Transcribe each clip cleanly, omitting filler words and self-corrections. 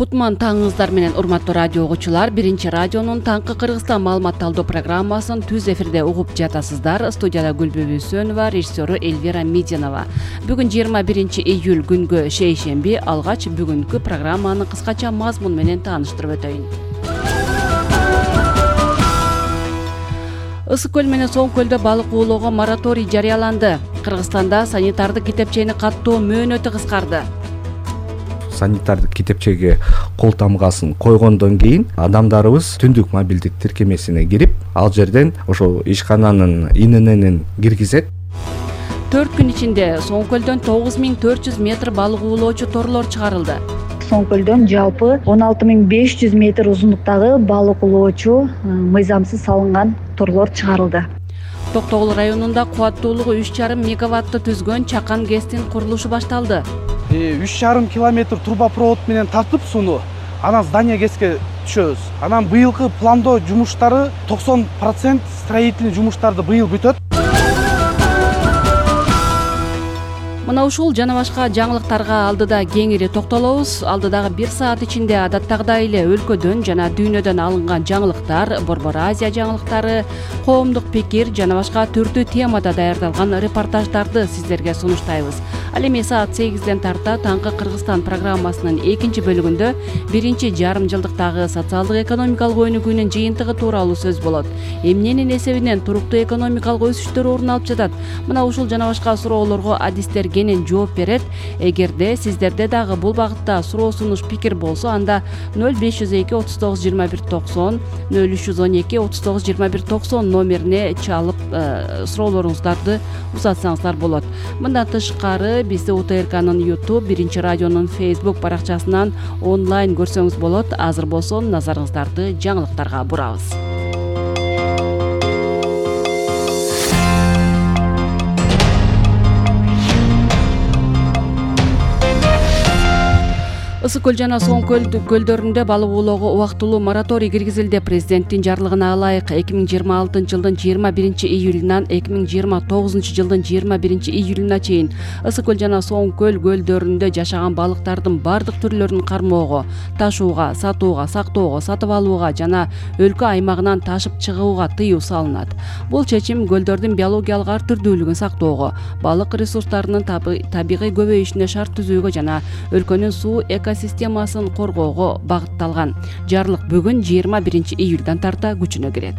Кутман таңыңыздар менен урматтуу радио угуучулар. Биринчи радионун таңкы Кыргызстан маалымат алуу программасын түз эфирде угуп жатасыздар. Студияда Гүлбү Үсөнова, режиссеру Эльвира Мединова. Бүгүн 21 июль күнгө шейшемби. Алгач бүгүнкү программаны кыскача мазмун менен тааныштырып өтөйүн. Ысык көл менен Соң көлдө балык уулоого мораторий жарыяланды. Кыргызстанда санитардык китепчени каттоо мөөнөтү кыскарды. Санитардык китепчеге кол тамгасын койгондон кийин адамдарыбыз түндүк мобилдик тиркемесине кирип, ал жерден ошол ишкананын ИНН киргизет. 4 күн ичинде Соң көлдөн 9400 метр балык уулоочу торлор чыгарылды. Соң көлдөн жалпы 16500 метр узундуктагы балык уулоочу мыйзамсыз салынган торлор чыгарылды. Токтогул районунда кубаттуулугу 3,5 мегаватты түзгөн Чакан ГЭСтин курулушу башталды. 3,5 километр трубопровод менен тартып сууну анан здание ГЭСке түшөбүз. Анан быйылкы пландоо жумуштары 90% строительный жумуштарды быйыл бүтөт. Мына ушул жана башка жаңылыктарга алдыда кеңири токтолобуз. Алдыдагы 1 саат ичинде адаттагыдай эле өлкөдөн жана дүйнөдөн алынган жаңылыктар, Борбор Азия жаңылыктары, коомдук пикир жана башка түрдүү темада даярдалган репортаждарды сиздерге сунуштайбыз. Ал эми саат 8ден тарта таңкы Кыргызстан программасынын экинчи бөлүгүндө биринчи жарым жылдыктагы социалдык экономикалык өнүгүүнүн жыйынтыгы тууралуу сөз болот. Эмненин эсебинен туруктуу экономикалык өсүштөр орун алып жатат? Мына ушул жана башка суроолорго адистер кенен жооп берет. Эгерде сиздерде дагы бул багытта суроо сунуш пикир болсо, анда 0502 39 21 90, 0312 39 21 90 номерине чалып суроолоруңуздарды узатсаңыздар болот. Мындан тышкары бизди УТРКнын YouTube, Биринчи радионун Facebook баракчасынан онлайн көрсөңүз болот. Азыр болсо назарыңыздарды жаңылыктарга бурабыз. Ысык көл жана Соң көлдөрүндө балык уулоого убактылуу мораторий киргизилди. Президенттин жарлыгына ылайык 2026 жылдын 21 июлунан 2029 жылдын 21 июлуна чейин Ысык көл жана Соң көлдөрүндө жашаган балыктардын бардык түрлөрүн кармоого, ташууга, сатууга, сактоого, сатып алууга жана өлкө аймагынан ташып чыгууга тыюу салынат. Бул чечим көлдөрдүн биологиялык ар түрдүүлүгүн сактоого, балык ресурстарынын табигый көбөйүшүнө шарт түзүүгө жана өлкөнүн суу экосистемасын коргоого багытталган. Жарлык бүгүн 21 июлдан тарта күчүнө кирет.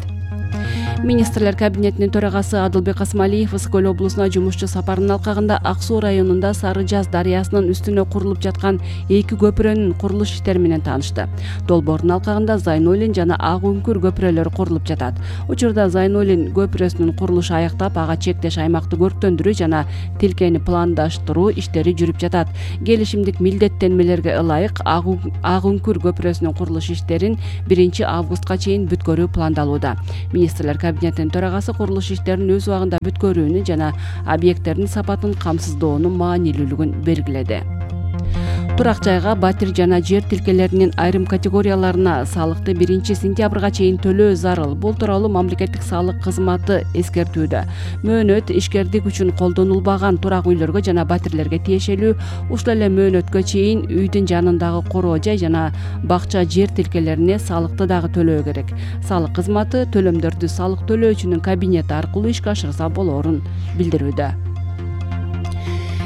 Министрлер кабинетинин төрагасы Адылбек Асмалиев Ысык көл облусуна жумушчу сапарынын алкагында Ак Суу районунда Сары Жаз дарыясынын үстүнө курулуп жаткан 2 көпүрөнүн курулуш иштери менен таанышты. Долбоордун алкагында Зайнолин жана Ак Үңкүр көпүрөлөрү курулуп жатат. Учурда Зайнолин көпүрөсүнүн курулушу аяктап, ага чектеш аймакты көрктөндүрүү жана тилкени пландаштыруу иштери жүрүп жатат. Келишимдик милдеттенмелерге ылайык Ак Үңкүр көпүрөсүнүн курулуш иштерин 1 августка чейин бүткөрүү пландалууда. Министрлер кабинетинин төрагасы курулуш иштерин өз убагында бүткөрүүнү жана объекттердин сапатын камсыздоонун маанилүүлүгүн белгиледи. Турак жайга, батир жана жер тилкелеринин айрым категорияларына салыкты 1 сентябрга чейин төлөө зарыл. Бул тууралуу мамлекеттик салык кызматы эскертүүдө. Мөөнөт ишкердик үчүн колдонулбаган турак үйлөргө жана батирлерге тиешелүү. Ушул эле мөөнөткө чейин үйдүн жанындагы короо жай жана бакча жер тилкелерине салыкты дагы төлөө керек. Салык кызматы төлөмдөрдү салык төлөөчүнүн кабинети аркылуу ишке ашырса болоорун билдирүүдө.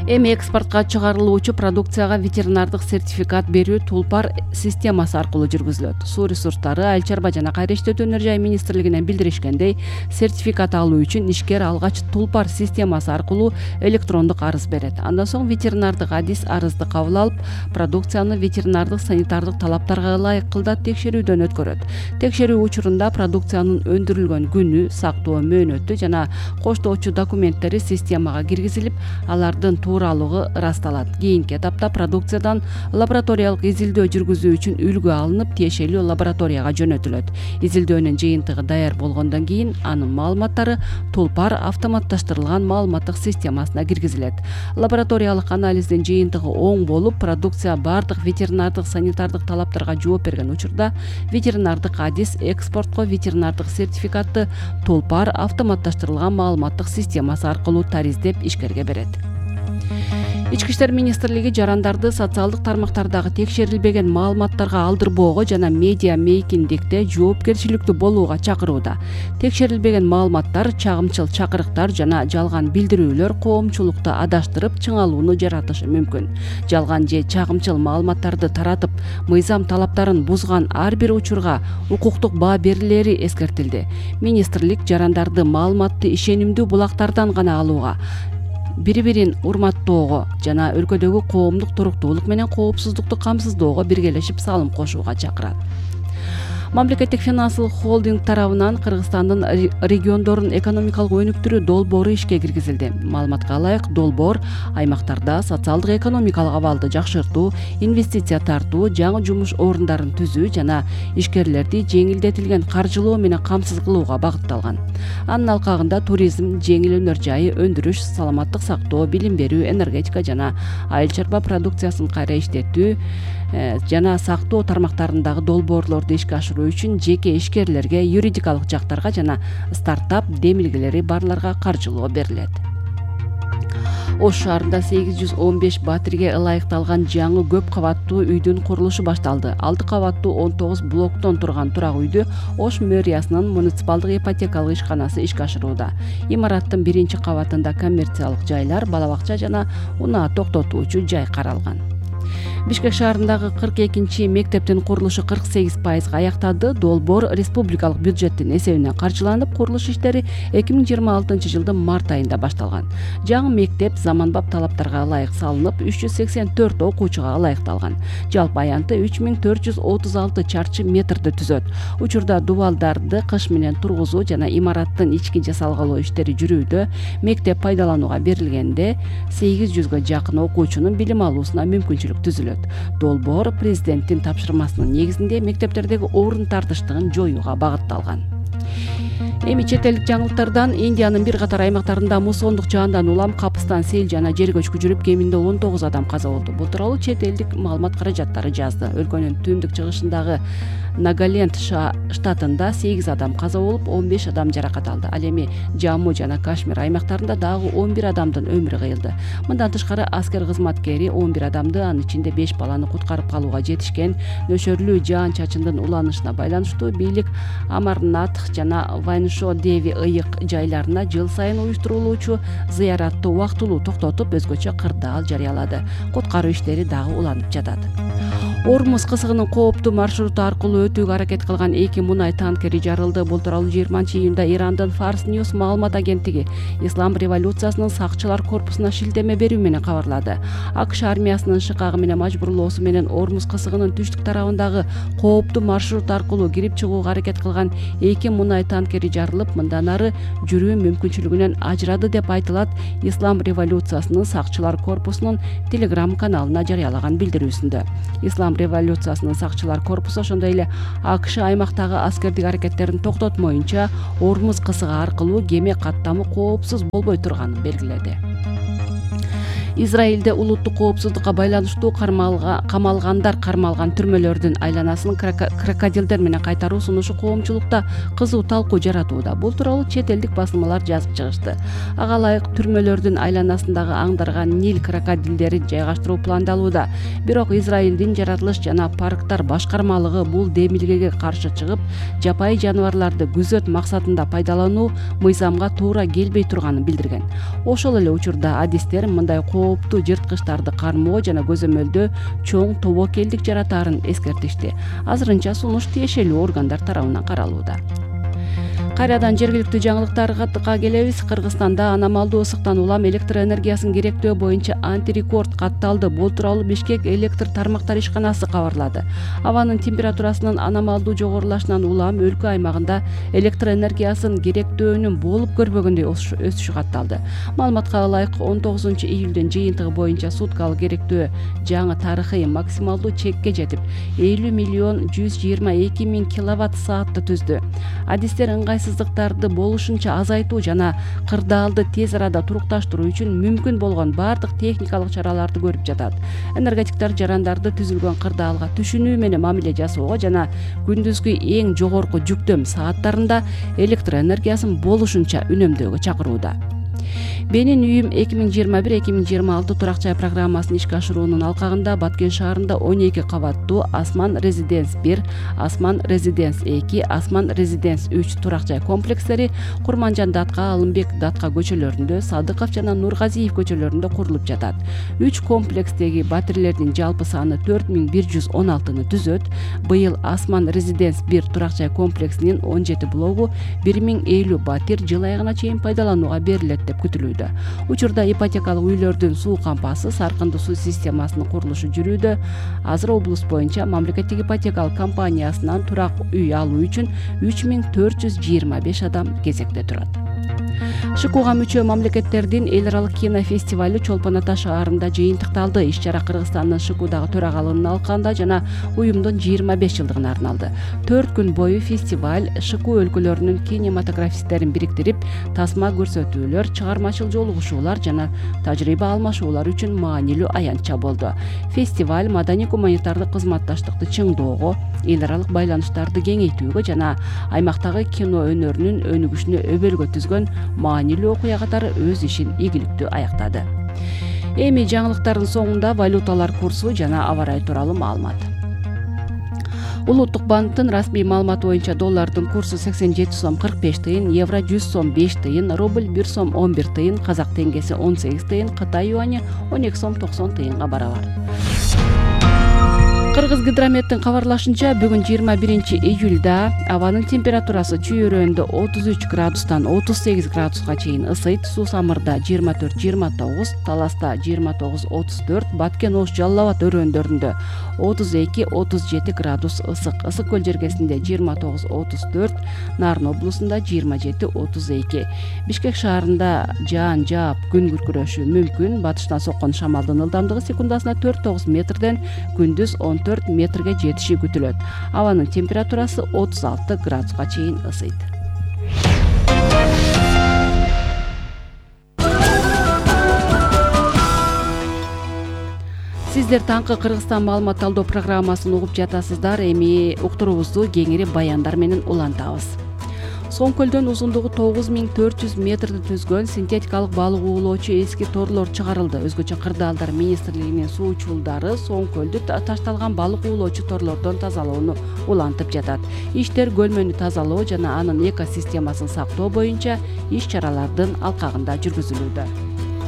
Эми экспортко чыгарылуучу продукцияга ветеринардык сертификат берүү Тулпар системасы аркылуу жүргүзүлөт. Суу ресурстары, айыл чарба жана кайра иштетүү өнөр жай министрлигинен билдиришкендей, сертификат алуу үчүн ишкер алгач Тулпар системасы аркылуу электрондук арыз берет. Андан соң ветеринардык адис арызды кабыл алып, продукцияны ветеринардык санитардык талаптарга ылайык кылдат текшерүүдөн өткөрөт. Текшерүү учурунда продукциянын өндүрүлгөн күнү, сактоо мөөнөтү жана коштоочу документтери системага киргизилип, алардын тууралыгы ырасталат. Кийинки этапта продукциядан лабораториялык изилдөө жүргүзүү үчүн үлгү алынып, тиешелүү лабораторияга жөнөтүлөт. Изилдөөнүн жыйынтыгы даяр болгондон кийин анын маалыматтары Тулпар автоматташтырылган маалыматтык системасына киргизилет. Лабораториялык анализдин жыйынтыгы оң болуп, продукция бардык ветеринардык санитардык талаптарга жооп берген учурда ветеринардык адис экспортко ветеринардык сертификатты Тулпар автоматташтырылган маалыматтык системасы аркылуу тариздеп ишкерге берет. Ички иштер министрлиги жарандарды социалдык тармактардагы текшерилбеген маалыматтарга алдырбоого жана медиа мейкиндикте жоопкерчиликтүү болууга чакырууда. Текшерилбеген маалыматтар, чагымчыл чакырыктар жана жалган билдирүүлөр коомчулукту адаштырып, чыңалууну жаратышы мүмкүн. Жалган же чагымчыл маалыматтарды таратып, мыйзам талаптарын бузган ар бир учурга укуктук баа берилери эскертилди. Министрлик жарандарды маалыматты ишенимдүү булактардан гана алууга, бири-бирин урматтоого жана өлкөдөгү коомдук туруктуулук менен коопсуздукту камсыздоого биргелешип салым кошууга чакырат. Мамлекеттик финансылык холдинг тарабынан Кыргызстандын региондорун экономикалык өнүктүрүү долбоору ишке киргизилди. Маалыматка ылайык, долбоор аймактарда социалдык экономикалык абалды жакшыртуу, инвестиция тартуу, жаңы жумуш орундарын түзүү жана ишкерлерди жеңилдетилген каржылоо менен камсыз кылууга багытталган. Анын алкагында туризм, жеңил өнөр жайы, өндүрүш, саламаттык сактоо, билим берүү, энергетика жана айыл чарба продукциясын кайра иштетүү жана сактоо тармактарындагы долбоорлорду ишке ашыруу үчүн жеке ишкерлерге, юридикалык жактарга жана стартап демилгелери барларга каржылоо берилет. Ош шаарында 815 батирге ылайыкталган жаңы көп кабаттуу үйдүн курулушу башталды. 6 кабаттуу 19 блоктон турган турак үйдү Ош мэриясынын муниципалдык ипотекалык ишканасы ишке ашырууда. Имараттын 1-кабатында коммерциялык жайлар, бала бакча жана унаа токтотуучу жай каралган. Бишкек шаарындагы 42 мектептин курулушу 48%га аяктады. Долбоор республикалык бюджеттин эсебинен каржыланып, курулуш иштери 2026 жылдын март айында башталган. Жаңы мектеп заманбап талаптарга ылайык салынып, 384 окуучуга ылайыкталган. Жалпы аянты 3436 чарчы метрди түзөт. Учурда дубалдарды кыш менен тургузуу жана имараттын ички жасалгалоо иштери жүрүүдө. Мектеп пайдаланууга берилгенде 800гө жакын окуучунун билим алуусуна мүмкүнчүлүк түзүлөт. Долбоор президенттин тапшырмасынын негизинде мектептердеги орун тартыштыгын жоюуга багытталган. Эми чет элдик жаңылыктардан Индиянын бир катар аймактарында муссондук жаандан улам, капыстан сел жана жер көчкү жүрүп, кеминде 19 адам каза болду. Бул тууралуу чет элдик маалымат каражаттары жазды. Өлкөнүн түндүк чыгышындагы Нагаленд штатында 8 адам каза болуп, 15 адам жаракат алды. Ал эми Жамму жана Кашмир аймактарында дагы 11 адамдын өмүрү кыйылды. Мындан тышкары аскер кызматкери 11 адамды, анын ичинде 5 баланы куткарып калууга жетишкен. Нөшөрлүү жаан-чачындын уланышына байланыштуу бийлик Амарнатх жана Вайншо Деви ыйык жайларына жыл сайын уюштурулуучу зыяратты убактылуу токтотуп, өзгөчө кырдаал жарыялады. Куткаруу иштери дагы уланып жатат. Ормуз кысыгынын кооптуу маршруту аркылуу өтүүгө аракет кылган 2 мунай танкери жарылды. Бул тууралуу 20-июнда Ирандын Fars News маалымат агенттиги Ислам революциясынын сакчылар корпусуна шилтеме берүү менен кабарлады. АКШ армиясынын шыкагы менен мажбурлоосу менен Ормуз кысыгынын түштүк тарабындагы кооптуу маршрут аркылуу кирип чыгууга аракет кылган 2 мунай танкери жарылып, мындан ары жүрүү мүмкүнчүлүгүнөн ажырады деп айтылат Ислам революциясынын сакчылар корпусунун Telegram каналына жарыялаган билдирүүсүндө. Ислам революциясынын сакчылар корпусу ошондой эле АКШ аймактагы аскердик аракеттерин токтотмоюнча Ормуз кысыгы аркылуу кеме каттамы коопсуз болбой турганын белгиледи. Израилде улуттук коопсуздукка байланыштуу камалгандар кармалган түрмөлөрдүн айланасын крокодилдер менен кайтаруу сунушу коомчулукта кызуу талкуу жаратууда. Бул тууралуу чет элдик басылмалар жазып чыгышты. Ага ылайык түрмөлөрдүн айланасындагы аңдарга Нил крокодилдерин жайгаштыруу пландалууда. Бирок Израилдин жаратылыш жана парктар башкармалыгы бул демилгеге каршы чыгып, жапайы жаныбарларды күзөт максатында пайдалануу мыйзамга туура келбей турганын билдирген. Ошол эле учурда адистер мындай кооптуу жырткычтарды кармоо жана көзөмөлдөө чоң тобокелдик жаратаарын эскертишти. Азырынча сунуш тиешелүү органдар тарабынан каралууда. Кайрадан жергиликтүү жаңылыктарга келебиз. Кыргызстанда аномалдуу ысыктан улам электр энергиясын керектөө боюнча антирекорд катталды. Бул тууралуу Бишкек электр тармактар ишканасы кабарлады. Абанын температурасынын аномалдуу жогорулашынан улам өлкө аймагында электр энергиясын керектөөнүн болуп көрбөгөндөй өсүшү катталды. Маалыматка ылайык 19-июлдун жыйынтыгы боюнча суткалык керектөө жаңы тарыхый максималдуу чекке жетип, 50.122.000 киловатт-саатты түздү. Адистер ыңгайсыздыктарды болушунча азайтуу жана кырдаалды тез арада турукташтыруу үчүн мүмкүн болгон бардык техникалык чараларды көрүп жатат. Энергетиктер жарандарды түзүлгөн кырдаалга түшүнүү менен мамиле жасоого жана күндүзгү эң жогорку жүктөм сааттарында электр энергиясын болушунча үнөмдөөгө чакырууда. Менин үйүм 2021-2026 турак жай программасын ишке ашыруунун алкагында Баткен шаарында 12 кабаттуу Асман Резиденс 1, Асман Резиденс 2, Асман Резиденс 3 турак жай комплекстери Курманжан Датка, Алымбек Датка көчөлөрүндө, Садыков жана Нургазиев көчөлөрүндө курулуп жатат. 3 комплекстеги батирлердин жалпы саны 4116-ны түзөт. Быйыл Асман Резиденс 1 турак жай комплексинин 17 блогу 1050 батир жыл айына чейин пайдаланууга берилет деп күтүлүүдө. Учурда ипотекалык үйлөрдүн суу кампасы, саркындуу суу системасынын курулушу жүрүүдө. Азыр облус боюнча мамлекеттик ипотекалык компаниясынан турак үй алуу үчүн 3425 адам кезекте турат. ШКУга мүчө мамлекеттердин эл аралык кинофестивали Чолпон Ата шаарында жыйынтыкталды. Иш-чара Кыргызстандын ШКУдагы төрагалыгынын алкагында жана уюмдун 25 жылдыгына арналды. 4 күн бою фестиваль ШКУ өлкөлөрүнүн кинематографисттерин бириктирип, тасма көрсөтүүлөр, чыгармачыл жолугушуулар жана тажрыйба алмашуулар үчүн маанилүү аянтча болду. Фестиваль маданий-гуманитардык кызматташтыкты чыңдоого, эл аралык байланыштарды кеңейтүүгө жана аймактагы кино өнөрүнүн өнүгүшүнө өбөлгө түзгөн маанилүү окуя катары өз ишин ийгиликтүү аяктады. Эми жаңылыктардын соңунда валюталар курсу жана аба ырайы тууралуу маалымат. Улуттук банктын расмий маалыматы боюнча доллардын курсу 87 сом 45 тыйын, евро 100 сом 5 тыйын, рубль 1 сом 11 тыйын, казак теңгеси 18 тыйын, Кытай юани 12 сом 90 тыйынга барабар. Кыргыз гидрометтин кабарлашынча, бүгүн 21 июлда абанын температурасы чүй өрөөндө 33 градустан 38 градуска чейин ысыйт. Суусамырда 24-29, Таласта 29-34, Баткен Ош Жалал Абад өрөөндөрүндө 32-37 градус ысык. Ысык көл жергесинде 29-34, Нарын облусунда 27-32. Бишкек шаарында жаан жаап күн күркүрөшү мүмкүн. Батыштан соккон шамалдын ылдамдыгы секундасына 4-9 метрден, күндүз 14 метрге жетиши күтүлөт. Абанын температурасы 36 градуска чейин ысыйт. Сиздер таңкы Кыргызстан маалымат талдоо программасын угуп жатасыздар. Эми уктуруубузду кеңири баяндар менен улантабыз. Соң көлдөн узундугу 9400 метрди түзгөн синтетикалык балык уулоочу эски торлор чыгарылды. Өзгөчө Кырдаалдар министрлигинин суучулдары Соң көлдү ташталган балык уулоочу торлордон тазалоону улантып жатат. Иштер көлмөнү тазалоо жана анын экосистемасын сактоо боюнча иш-чаралардын алкагында жүргүзүлүүдө.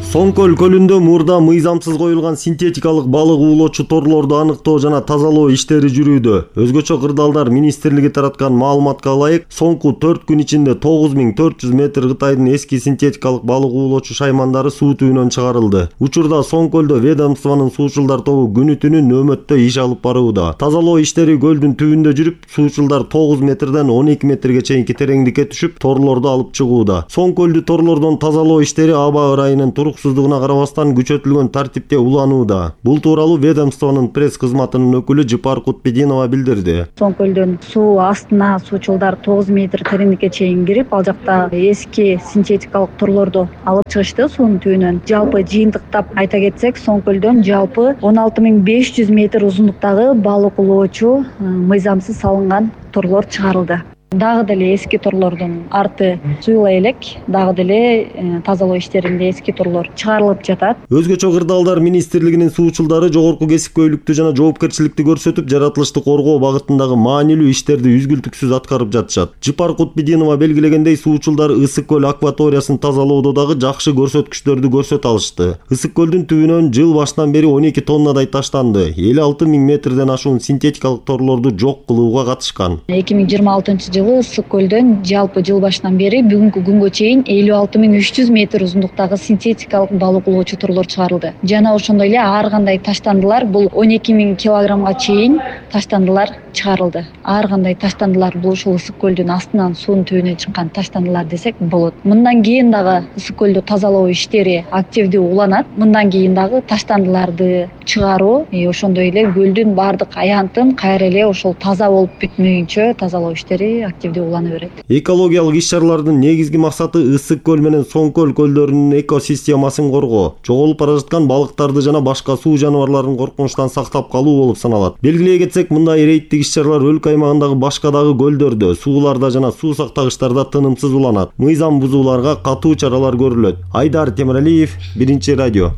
Соң көлүндө мурда мыйзамсыз коюлган синтетикалык балык уулоочу торлорду аныктоо жана тазалоо иштери жүрүүдө. Өзгөчө Кырдаалдар министрлиги тараткан маалыматка ылайык, соңку 4 күн ичинде 9400 метр Кытайдын эски синтетикалык балык уулоочу шаймандары суу түбүнөн чыгарылды. Учурда Соң көлдө ведомствонун суучулдар тобу күнү-түнү нөөмөттө иш алып барууда. Тазалоо иштери көлдүн түбүндө жүрүп, суучулдар 9 метрден 12 метрге чейинки тереңдикке түшүп, торлорду алып чыгууда. Соң көлдү торлордон тазалоо иштери аба ырайынын туруксуздугуна карабастан күчөтүлгөн тартипте уланууда. Бул тууралуу ведомствонун пресс кызматынын өкүлү Жыпар Кутбединова билдирди. Соң көлдөн суу астына суучулдар 9 метр тереңдикке чейин кирип, ал жакта эски синтетикалык торлорду алып чыгышты суунун түбүнөн. Жалпы жыйынтыктап айта кетсек, Соң көлдөн жалпы 16500 метр узундуктагы балык уулоочу мыйзамсыз салынган торлор чыгарылды. Дагы деле эски торлордун арты суюла элек, дагы деле тазалоо иштеринде эски торлор чыгарылып жатат. Өзгөчө Кырдаалдар министрлигинин суучулдары жогорку кесипкөйлүктү жана жоопкерчиликти көрсөтүп, жаратылышты коргоо багытындагы маанилүү иштерди үзгүлтүксүз аткарып жатышат. Жыпар Кутбединова белгилегендей, суучулдар Ысык көл акваториясын тазалоодо дагы жакшы көрсөткүчтөрдү көрсөтө алышты. Ысык көлдүн түбүнөн жыл башынан бери 12 тоннадай таштанды. 56 000 метрден ашуун синтетикалык торлорду жок кылууга катышкан. 2026 жылы Ысык көлдөн жалпы жыл башынан бери бүгүнкү күнгө чейин 56300 метр узундуктагы синтетикалык балык уулоочу торлор чыгарылды. Жана ошондой эле ар кандай таштандылар, бул 12000 килограммга чейин таштандылар чыгарылды. Ар кандай таштандылар бул ушул Ысык көлдүн астынан суунун түбүнө чыккан таштандылар десек болот. Мындан кийин дагы Ысык көлдү тазалоо иштери активдүү уланат. Мындан кийин дагы таштандыларды чыгаруу, ошондой эле көлдүн баардык аянтын кайра эле ошол таза болуп бүтмөйүнчө тазалоо иштери активдүү улана берет. Экологиялык иш-чаралардын негизги максаты Ысык көл менен Соң көл көлдөрүнүн экосистемасын коргоо, жоголуп бара жаткан балыктарды жана башка суу жаныбарларын коркунучтан сактап калуу болуп саналат. Белгилей кетсек, мындай рейдтик иш-чаралар өлкө аймагындагы башка дагы көлдөрдө, сууларда жана суу сактагычтарда тынымсыз уланат. Мыйзам бузууларга катуу чаралар көрүлөт. Айдар Темиралиев, Биринчи радио.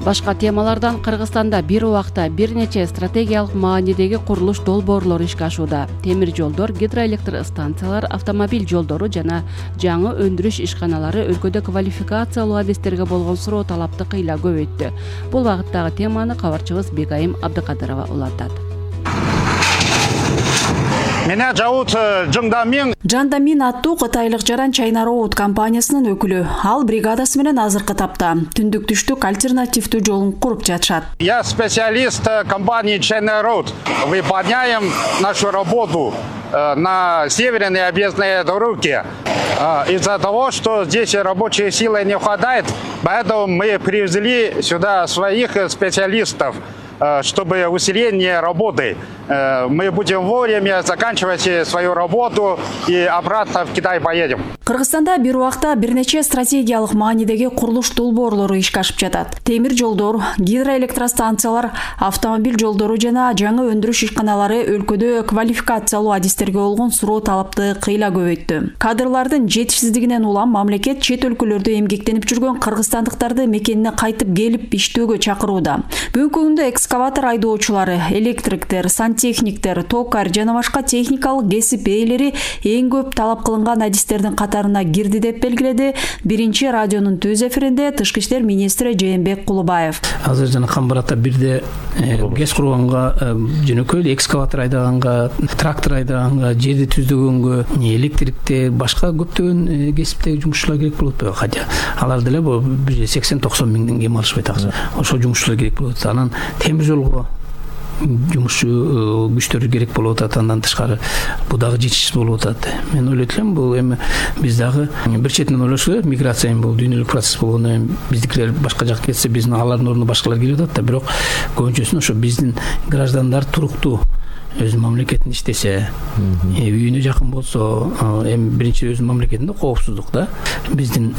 Башка темалардан Кыргызстанда бир убакта бир нече стратегиялык маанидеги курулуш долбоорлору ишке ашууда. Темир жолдор, гидроэлектр станциялар, автомобиль жолдору жана жаңы өндүрүш ишканалары өлкөдө квалификациялуу адистерге болгон суроо талапты кыйла көбөйттү. Бул багыттагы теманы кабарчыбыз Бегайым Абдыкадырова улантат. Меня зовут Жандамин. Жандамин аттуу кытайлык жаран China Road компаниясынын өкүлү. Ал бригадасы менен азыркы тапта түндүк түштүк альтернативдүү жолун куруп жатышат. Я специалист компании China Road. Выполняем нашу работу на северной объездной дороге. Из-за того, что здесь рабочей силы не хватает, поэтому мы привезли сюда своих специалистов, чтобы усиление работы. Мы будем вовремя заканчивать свою работу и обратно в Китай поедем. Кыргызстанда бир убакта бир нече стратегиялык маанидеги курулуш долбоорлору ишке ашып жатат. Темир жолдор, гидроэлектростанциялар, автомобиль жолдору жана жаңы өндүрүш ишканалары өлкөдө квалификациялуу адистерге болгон суроо талапты кыйла көбөйттү. Кадрлардын жетишсиздигинен улам мамлекет чет өлкөлөрдө эмгектенип жүргөн кыргызстандыктарды мекенине кайтып келип иштөөгө чакырууда. Бүгүнкү күндө экскаватор айдоочулары, электриктер, сантехниктер, токар жана башка техникалык кесип ээлери эң көп талап кылынган адистердин катарына кирди деп белгиледи Биринчи радионун түз эфиринде Тышкы иштер министри Жээнбек Кулубаев. Азыр жана Камбарата бирде гез курганга, жөнөкөй экскаватор айдаганга, трактор айдаганга, жерди түздөгөнгө, электрикте, башка көптөгөн кесиптеги жумушчулар керек болот. Хотя алар деле 80-90 миңден кем алышпайт акча. Ошол жумушчулар керек болот. Анан темир жолго жумушчу күчтөр керек болуп атат, андан тышкары бул дагы жетишсиз болуп атат. Мен ойлойт элем, бул эми биз дагы бир четинен ойлош керек, миграция бул дүйнөлүк процесс болгондон биздикилер башка жакка кетсе, биздин алардын ордуна башкалар келип атат да, бирок көбүнчөсүн ошо биздин граждандар туруктуу өзүнүн мамлекетинде иштесе, үйүнө жакын болсо, эми биринчи өзүнүн мамлекетинде коопсуздук да. Биздин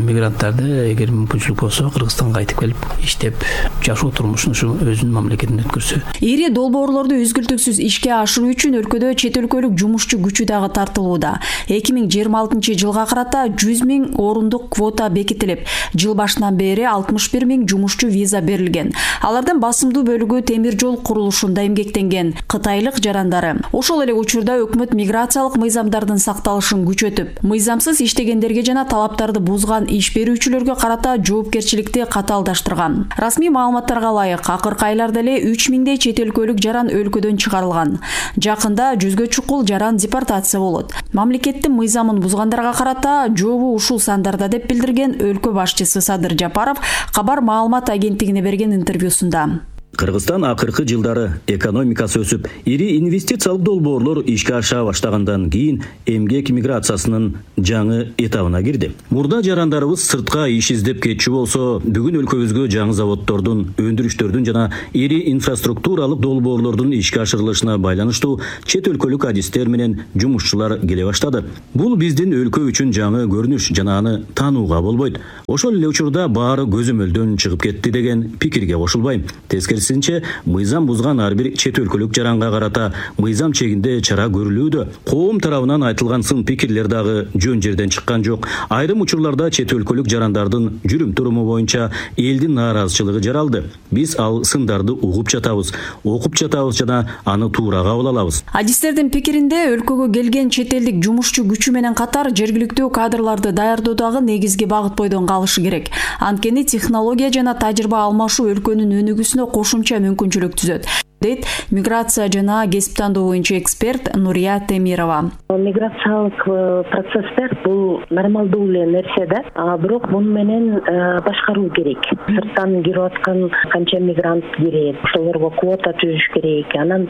мигранттарды эгер мүмкүнчүлүк болсо Кыргызстанга кайтып келип иштеп, жашоо турмушун ушу өзүнүн мамлекетинде өткөрсө. Ири долбоорлорду үзгүлтүксүз ишке ашыруу үчүн өлкөдө чет өлкөлүк жумушчу күчү дагы тартылууда. 2026-жылга карата 100 миң орундук квота бекитилип, жыл башынан бери 61 миң жумушчу виза берилген. Алардын басымдуу бөлүгү темир жол курулушунда эмгектенген кытайлык жарандары. Ошол эле учурда өкмөт миграциялык мыйзамдардын сакталышын күчөтүп, мыйзамсыз иштегендерге жана талаптарды бузган иш берүүчүлөргө карата жоопкерчиликти катаалдаштырган. Расмий маалыматтарга ылайык, акыркы айларда эле 3 миңдей чет өлкөлүк жаран өлкөдөн чыгарылган. Жакында 100гө чукул жаран депортация болот. Мамлекеттин мыйзамын бузгандарга карата жообу ушул сандарда деп билдирген өлкө башчысы Садыр Жапаров Кабар маалымат агенттигине берген интервьюсунда. Кыргызстан акыркы жылдары экономикасы өсүп, ири инвестициялык долбоорлор ишке аша баштагандан кийин эмгек миграциясынын жаңы этабына кирди. Мурда жарандарыбыз сыртка иш издеп кетчү болсо, бүгүн өлкөбүзгө жаңы заводдордун, өндүрүштөрдүн жана ири инфраструктуралык долбоорлордун ишке ашырылышына байланыштуу чет өлкөлүк адистер менен жумушчулар келе баштады. Бул биздин өлкө үчүн жаңы көрүнүш жана аны таанууга болбойт. Ошол эле учурда баары көзөмөлдөн чыгып кетти деген пикирге кошулбайм. Тескерисинче, мыйзам бузган ар бир чет өлкөлүк жаранга карата мыйзам чегинде чара көрүлүүдө. Коом тарабынан айтылган сын пикирлер дагы жөн жерден чыккан жок. Айрым учурларда чет өлкөлүк жарандардын жүрүм туруму боюнча элдин нааразычылыгы жаралды. Биз ал сындарды угуп жатабыз, окуп жатабыз жана аны туура кабыл алабыз. Адистердин пикиринде өлкөгө келген чет элдик жумушчу күчү менен катар жергиликтүү кадрларды даярдоодагы негизги багыт бойдон калышы керек. Анткени технология жана тажрыйба алмашуу өлкөнүн өнүгүүсүнө кошумча мүмкүнчүлүк түзөт, дейт миграция жана кесип тандоо боюнча эксперт Нурия Темирова. Миграциялык процесстер бул нормалдуу эле нерсе да, бирок муну менен башкаруу керек. Сырттан кирип аткан канча мигрант кирет, ошолорго квота түзүш керек. Анан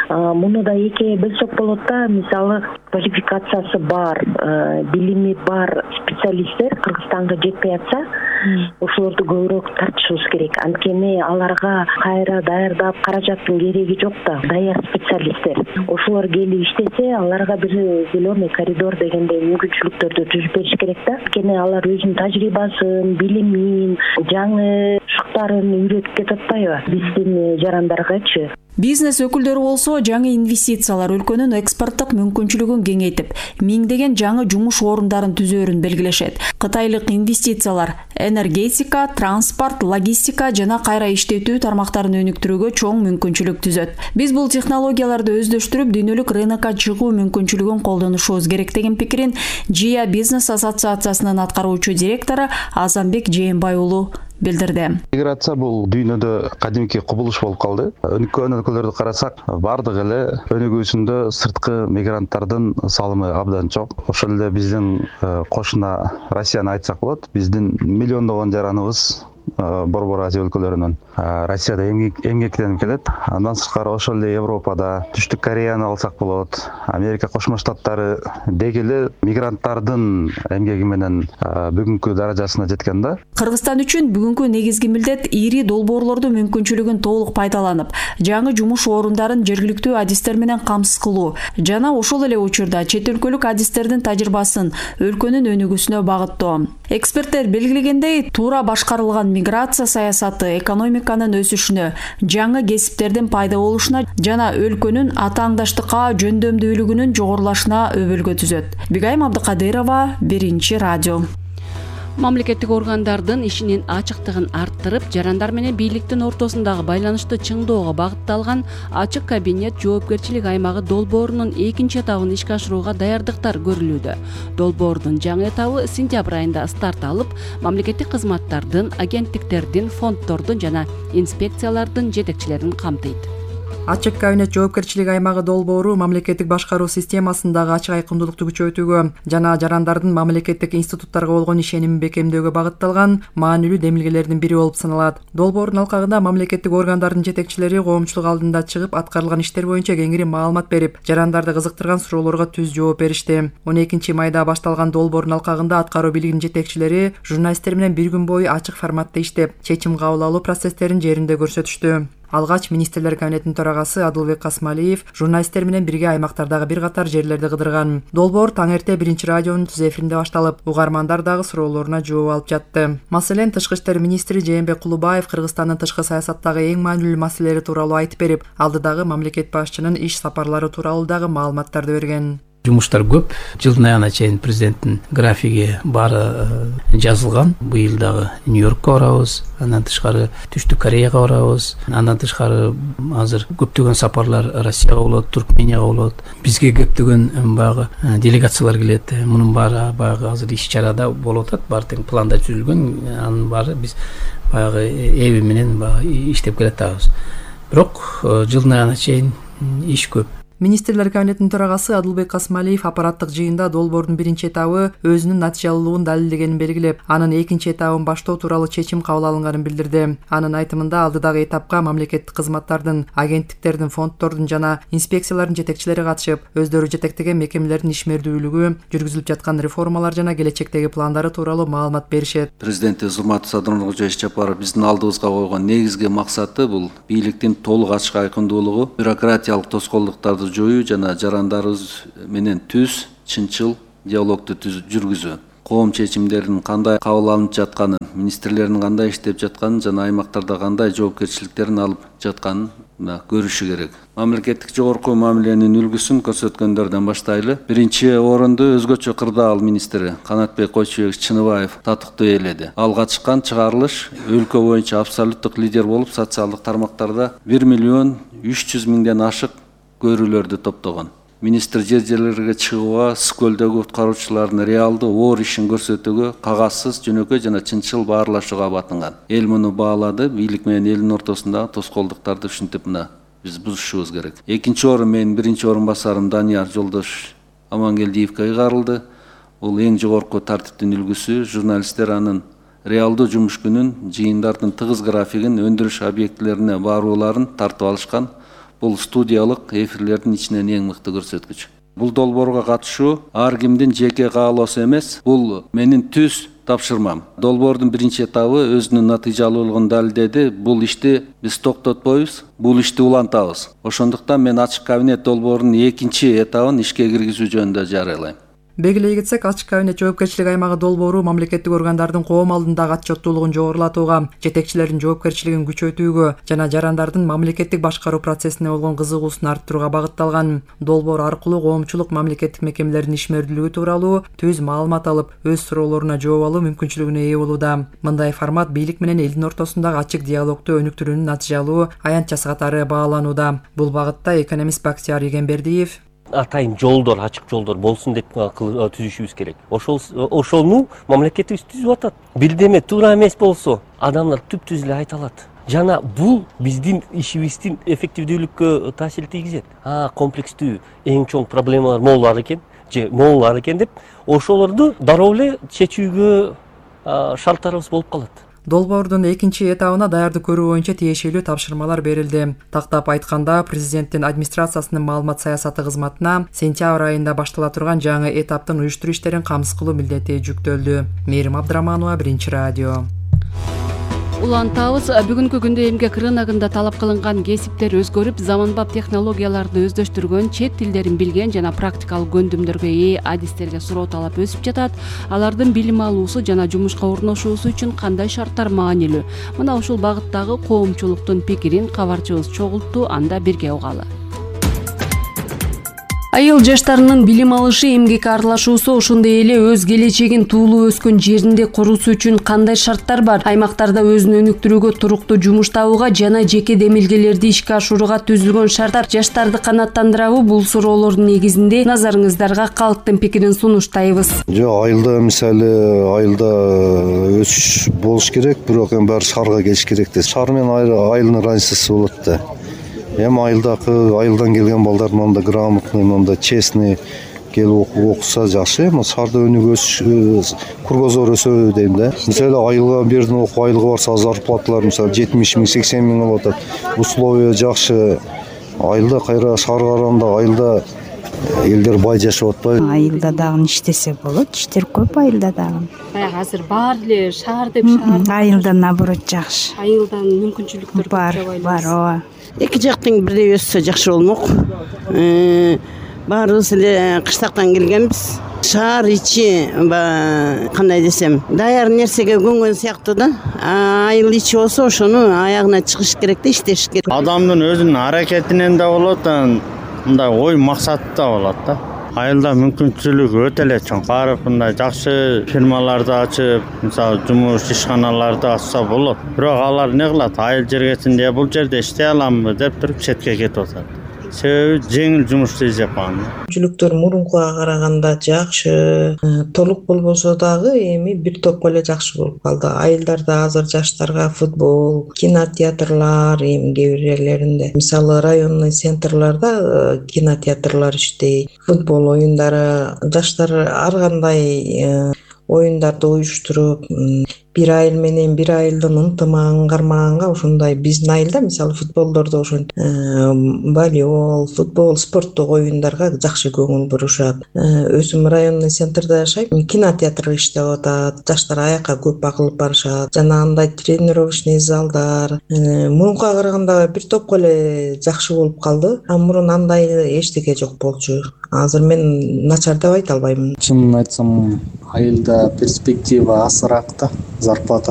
муну да эки бөлсөк болот да, мисалы квалификациясы бар, билими бар специалисттер Кыргызстанга жетпей атса, ошолорду көбүрөөк тартышыбыз керек. Анткени аларга кайра даярдап каражаттын кереги жок да, даяр специалисттер. Ошолор келип иштесе, аларга бир зеленый коридор дегендей мүмкүнчүлүктөрдү түзүп бериш керек да. Анткени алар өзүнүн тажрыйбасын, билимин, жаңы шуктарын үйрөтүп кетип атпайбы биздин жарандаргачы. Бизнес өкүлдөрү болсо жаңы инвестициялар өлкөнүн экспорттук мүмкүнчүлүгүн кеңейтип, миңдеген жаңы жумуш орундарын түзөөрүн белгилешет. Кытайлык инвестициялар энергетика, транспорт, логистика жана кайра иштетүү тармактарын өнүктүрүүгө чоң мүмкүнчүлүк түзөт. Биз бул технологияларды өздөштүрүп, дүйнөлүк рынокко чыгуу мүмкүнчүлүгүн колдонушубуз керек деген пикирин ЖИА бизнес ассоциациясынын аткаруучу директору Азамбек Жээнбай уулу билдирди. Миграция бул дүйнөдө кадимки кубулуш болуп калды. Өнүккөн өлкөлөрдү карасак, бардык эле өнүгүүсүндө сырткы мигранттардын салымы абдан чок. Ошол эле биздин кошуна Россияны айтсак болот. Биздин миллиондогон жараныбыз Борбор Азия өлкөлөрүнөн Россияда эмгектенип келет. Андан сырткары ошол эле Европада, Түштүк Кореяны алсак болот. Америка Кошмо Штаттары деги эле мигранттардын эмгеги менен бүгүнкү даражасына жеткен да. Кыргызстан үчүн бүгүнкү негизги милдет ири долбоорлордун мүмкүнчүлүгүн толук пайдаланып, жаңы жумуш орундарын жергиликтүү адистер менен камсыз кылуу жана ошол эле учурда чет өлкөлүк адистердин тажрыйбасын өлкөнүн өнүгүүсүнө багыттоо. Эксперттер белгилегендей, туура башкарылган миграция саясаты экономиканын өсүшүнө, жаңы кесиптердин пайда болушуна жана өлкөнүн атааңдаштыкка жөндөмдүүлүгүнүн жогорулашына өбөлгө түзөт. Бигайым Абдыкадырова, Биринчи радио. Мамлекеттик органдардын ишинин ачыктыгын арттырып, жарандар менен бийликтин ортосундагы байланышты чыңдоого багытталган ачык кабинет жоопкерчилик аймагы долбоорунун экинчи этабын ишке ашырууга даярдыктар көрүлүүдө. Долбоордун жаңы этабы сентябрь айында старт алып, мамлекеттик кызматтардын, агенттиктердин, фонддордун жана инспекциялардын жетекчилерин камтыйт. Ачык кабинет жоопкерчилик аймагы долбоору мамлекеттик башкаруу системасындагы ачык айкындуулукту күчөтүүгө жана жарандардын мамлекеттик институттарга болгон ишенимин бекемдөөгө багытталган маанилүү демилгелердин бири болуп саналат. Долбоордун алкагында мамлекеттик органдардын жетекчилери коомчулук алдында чыгып, аткарылган иштер боюнча кеңири маалымат берип, жарандарды кызыктырган суроолорго түз жооп беришти. 12-майда башталган долбоордун алкагында аткаруу бийлигинин жетекчилери журналисттер менен бир күн бою ачык форматта иштеп, чечим кабыл алуу процесстерин жеринде көрсөтүштү. Алгач министрлер кабинетинин төрагасы Адылбек Касмалиев журналисттер менен бирге аймактардагы бир катар жерлерди кыдырган. Долбоор таң эрте Биринчи радионун түз эфиринде башталып, угармандар дагы суроолоруна жооп алып жатты. Маселен, Тышкы иштер министри Жээнбек Кулубаев Кыргызстандын тышкы саясаттагы эң маанилүү маселелери тууралуу айтып берип, алдыдагы мамлекет башчынын иш сапарлары тууралуу дагы маалыматтарды берген. Жумуштар көп. Жылдын аягына чейин президенттин графиги баары жазылган. Быйыл дагы Нью-Йоркко барабыз, андан тышкары Түштүк Кореяга барабыз. Андан тышкары азыр көптөгөн сапарлар Россияга болот, Туркменияга болот. Бизге көптөгөн баягы делегациялар келет. Мунун баары баягы азыр иш-чарада болуп атат. Баары тең планда түзүлгөн. Анын баары биз баягы эби менен иштеп келатабыз. Бирок жылдын аягына чейин иш көп. Министрлер кабинетинин төрагасы Адылбек Касмалиев аппараттык жыйында долбоордун биринчи этабы өзүнүн натыйжалуулугун далилдегенин белгилеп, анын экинчи этабын баштоо тууралуу чечим кабыл алынганын билдирди. Анын айтымында алдыдагы этапка мамлекеттик кызматтардын, агенттиктердин, фонддордун жана инспекциялардын жетекчилери катышып, өздөрү жетектеген мекемелердин ишмердүүлүгү, жүргүзүлүп жаткан реформалар жана келечектеги пландары тууралуу маалымат беришет. Президенти Зулмат Садыркожоевич Жапаров биздин алдыбызга койгон негизги максаты бул бийликтин толук ачык айкындуулугу, бюрократиялык тоскоолдуктарды жоюу жана жарандарыбыз менен түз, чынчыл диалогду жүргүзүү. Коом чечимдеринин кандай кабыл алынып жатканын, министрлердин кандай иштеп жатканын жана аймактарда кандай жоопкерчиликтерин алып жатканын көрүшү керек. Мамлекеттик жогорку мамиленин үлгүсүн көрсөткөндөрдөн баштайлы. Биринчи орунду өзгөчө кырдаал министри Канатбек Койчубекович Чыныбаев татыктуу ээледи. Алга чыккан чыгарылыш өлкө боюнча абсолюттук лидер болуп, социалдык тармактарда 1,3 миллион ашык көрүүлөрдү топтогон. Министр жер-жерлерге чыгууга, Скөлдөгү куткаруучулардын реалдуу оор ишин көрсөтүүгө, кагассыз, жөнөкөй жана чынчыл баарлашууга батынган. Эл муну баалады, бийлик менен элдин ортосундагы тоскоолдуктарды түшүнтүп, биз бузушубуз керек. Экинчи орун менин биринчи орун басарым Данияр Жолдош Амангелдиевге ыйгарылды. Бул эң жогорку тартиптин үлгүсү. Журналисттер анын реалдуу жумуш күнүн, жыйындардын тыгыз графигин, өндүрүш объектилерине барууларын тартып алышкан. Бул студиялык эфирлердин ичинен эң мыкты көрсөткүч. Бул долбоорго катышуу ар кимдин жеке каалоосу эмес, бул менин түз тапшырмам. Долбоордун биринчи этабы өзүнүн натыйжалуулугун далилдеди. Бул ишти биз токтотпойбуз, бул ишти улантабыз. Ошондуктан мен ачык кабинет долбоорунун экинчи этабын ишке киргизүү жөнүндө жарыялайм. Белгилей кетсек, ачык кабинет жоопкерчилик аймагы долбоору мамлекеттик органдардын коом алдындагы отчеттуулугун жогорулатууга, жетекчилердин жоопкерчилигин күчөтүүгө жана жарандардын мамлекеттик башкаруу процессине болгон кызыгуусун арттырууга багытталган. Долбоор аркылуу коомчулук мамлекеттик мекемелердин ишмердүүлүгү тууралуу түз маалымат алып, өз суроолоруна жооп алуу мүмкүнчүлүгүнө ээ болууда. Мындай формат бийлик менен элдин ортосундагы ачык диалогду өнүктүрүүнүн натыйжалуу аянтчасы катары бааланууда. Бул багытта экономист Бактияр Игенбердиев атайын жолдор, ачык жолдор болсун деп түзүшүбүз керек. Ошону мамлекетибиз түзүп атат. Бирдеме туура эмес болсо, адамдар түп-түз эле айта алат. Жана бул биздин ишибиздин эффективдүүлүккө таасир тийгизет. Комплекстүү эң чоң проблемалар могулар экен деп, ошолорду дароо эле чечүүгө шарттарыбыз болуп калат. Долбоордун экинчи этабына даярдык көрүү боюнча тиешелүү тапшырмалар берилди. Тактап айтканда, президенттин администрациясынын маалымат саясаты кызматына сентябрь айында баштала турган жаңы этаптын уюштуруу иштерин камсыз кылуу милдети жүктөлдү. Мээрим Абдыраманова, Биринчи радио. Улантабыз. Бүгүнкү күндө эмгек рыногунда талап кылынган кесиптер өзгөрүп, заманбап технологияларды өздөштүргөн, чет тилдерин билген жана практикалык көндүмдөргө ээ адистерге суроо талап өсүп жатат. Алардын билим алуусу жана жумушка орношуусу үчүн кандай шарттар маанилүү? Мына ушул багыттагы коомчулуктун пикирин кабарчыбыз чогултту, анда бирге угалы. Айыл жаштарынын билим алышы, эмгекке аралашуусу, ошондой эле өз келечегин туулуп өскөн жеринде курусу үчүн кандай шарттар бар? Аймактарда өзүн өнүктүрүүгө, туруктуу жумуш табууга жана жеке демилгелерди ишке ашырууга түзүлгөн шарттар жаштарды канааттандырабы? Бул суроолордун негизинде назарыңыздарга калктын пикирин сунуштайбыз. Айылда мисалы өсүш болуш керек, бирок эми баары шаарга келиш керек да. Шаар менен айылдын разницасы болот да. Айылдан келген балдар мында грамотный, мында честный келип окуса жакшы. Шаарда өнүгөш кургозор өсө дейм да. Мисалы айылга бердин окуу айылга барса зарплаталар мисалы 70 миң, 80 миң болуп атат. Условия жакшы. Айылда кайра шаарга караганда айылда элдер бай жашап атпайбы? Айылда дагы иштесе болот, иштер көп айылда дагы. Баягы азыр баар эле шаар деп айылда наоборот жакшы. Айылдан мүмкүнчүлүктөр бар, ооба. Эки жактың бирдей өссө жакшы болмок. Баарыбыз эле кыштактан келгенбиз. Шаар ичи кандай десем, даяр нерсеге көнгөн сыяктуу да. Айыл ичи болсо ошону аягына чыгыш керек да, иштеш керек. Адамдын өзүнүн аракетинен да болот, мындай ой максаты да болот да. Айылда мүмкүнчүлүк өтө эле чоң. Барып мындай жакшы фирмаларды ачып, мисалы жумуш ишканаларды ачса болот. Бирок алар не кылат? Айыл жергесин же бул жерде иштей аламбы деп туруп четке кетип атат. Себеби жеңил жумушту издепкан. Мүмкүнчүлүктөр мурункуга караганда жакшы, толук болбосо дагы эми бир топко эле жакшы болуп калды. Айылдарда азыр жаштарга футбол, кинотеатрлар, эми кээ бир жерлеринде, мисалы районный центрларда кинотеатрлар иштейт, футбол оюндары, жаштар ар кандай оюндарды уюштуруп, бир айыл менен бир айылдын ынтымагын кармаганга ошондой биздин айылда мисалы футболдордо ошо волейбол, футбол, спорттук оюндарга жакшы көңүл бурушат. Өзүм районный центрде жашайм, кинотеатр иштеп атат, жаштар аякка көп багылып барышат. Жана андай тренировочный залдар мурункуга караганда бир топко эле жакшы болуп калды. Мурун андай эчтеке жок болчу. Азыр мен начар деп айта албайм. Чынын айтсам, айылда перспектива азыраак да, зарплата